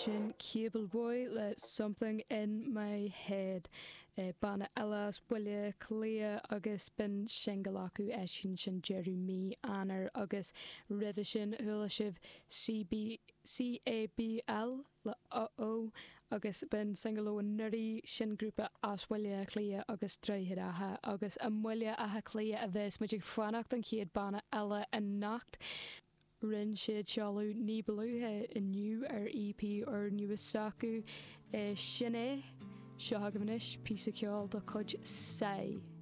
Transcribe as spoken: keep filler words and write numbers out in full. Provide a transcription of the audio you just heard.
Sin Cable Boy le Something in My Head. Banna eile as Baile Átha Cliath agus b'in singil acu eisithe sin deireadh mí Eanáir agus roimhe sin chuala sibh CB CABL le Uh Oh agus b'in singil ó anuraidh sin grúpa as Baile Átha Cliath agus Droichead Átha agus i mBaile Átha Cliath a bheas muid ag fanacht an chéad banna eile anocht. Rinne siad seoladh ní ba luaithe inniu ar EP úrnua s'acu sin é seo agaibh anois píosa ceoil de chuid Sai.